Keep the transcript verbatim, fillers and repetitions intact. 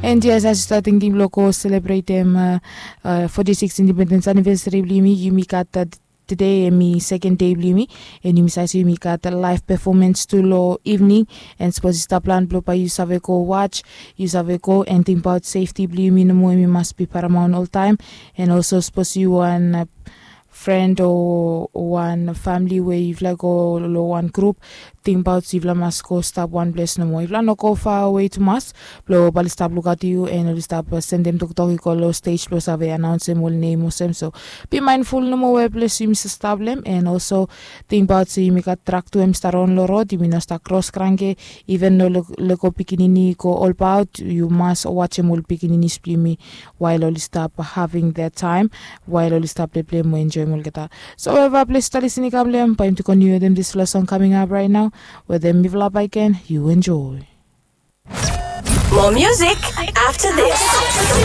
And yes, as yu stap tingting blong go selebretem foti siks indipendens anivesari blong yumi, yumi gat tude em i seken dei blong yumi. And yumi save se yumi gat laef pefomens tu long ivning. And sapos yu stap plan blong bae yu save go waj, yu save go. And tingbaot sefti blong yumi nomo, em i mas bi paramaon oltaem. And olso sapos yu wan fren o wan famili we yufala i go long wan grup, tingbaot yufala mas go stap wan ples nomo. Yufala no go fawe tumas blong bae oli stap lukaot yu and oli stap sendem toktok i go long stej blong save anaonsem ol nem olsem. So bi maenful nomo we ples yumi stap long em. And olso tingbaot se yumi gat trak tu em i stap ron long rod, yumi no stap kros kranke. Iven no lego pikinini i go olbaot, yu mas wajem ol pikininis blong yumi wael oli stap having that taem, wael oli stap pleplei mo enjoem olgeta. So weva ples yu stap lisin i kam long em, bae yumi tu koniu wetem disfala song kaming ap raet nao. Wetem mifala bakegen, yu enjoe. More music after this.